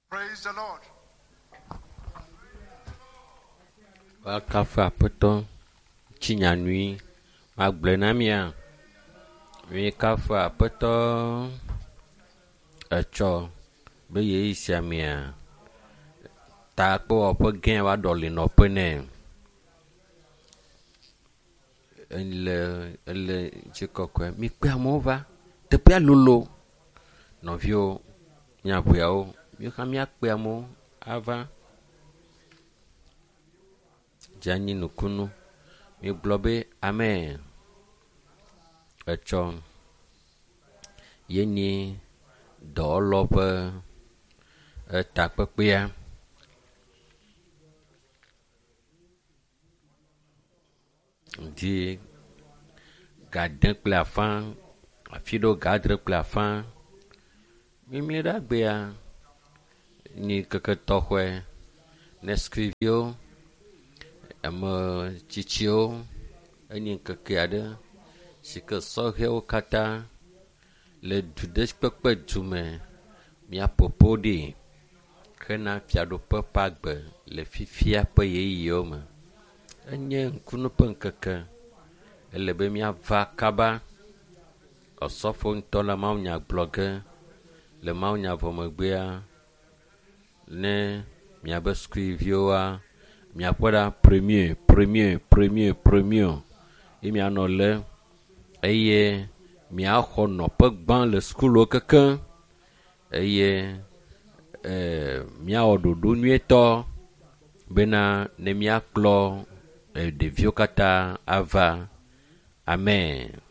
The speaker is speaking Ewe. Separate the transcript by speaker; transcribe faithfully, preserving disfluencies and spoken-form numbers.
Speaker 1: Praise the Lord.
Speaker 2: Woakafu Aƒetɔ tsinya nyui magblɔe na mia. Míekafu Aƒetɔ etsɔ be yeyi sia mea takpewɔƒe gã va ɖɔli nɔƒe nɛ. Ele ele ŋutikɔkɔe. Mikpe amewo va. Teƒea lolo. Nɔviwo, miaʋeawo, míwo hã míakpe amewo ava. Dze anyi nukunu. Migblɔ be amen. Etsɔ ye nyi dɔwɔlawo ƒe etakpekpea. Ŋdi ga ade kple afã, afi ɖewo ga adre kple afã. Mimi ɖe agbea nyi ŋkeke tɔxɛ ne sukuviwo, ame tsitsiwo enye ŋkeke aɖe si ke sɔhɛwo katã le du ɖe kpekpe du me míaƒoƒo ɖi hena fiaɖuƒe ƒe agbe le fifia ƒe ʋeyiʋiwo me. Enye ŋkunu ƒe ŋkeke. Ele be míava kaba. Osɔfo ŋutɔ le mawunya gblɔ ge le mawunya vɔ megbea ne miabe sukuviwoa miaƒe ɖa premier, premier, premier, premier ye mianɔ le eye miaxɔ nɔƒe gbã le sukuluwo kekeŋ eye ee miawɔ ɖoɖo nyuietɔ bena ne miakplɔ ɖeviwo katã ava. Amen.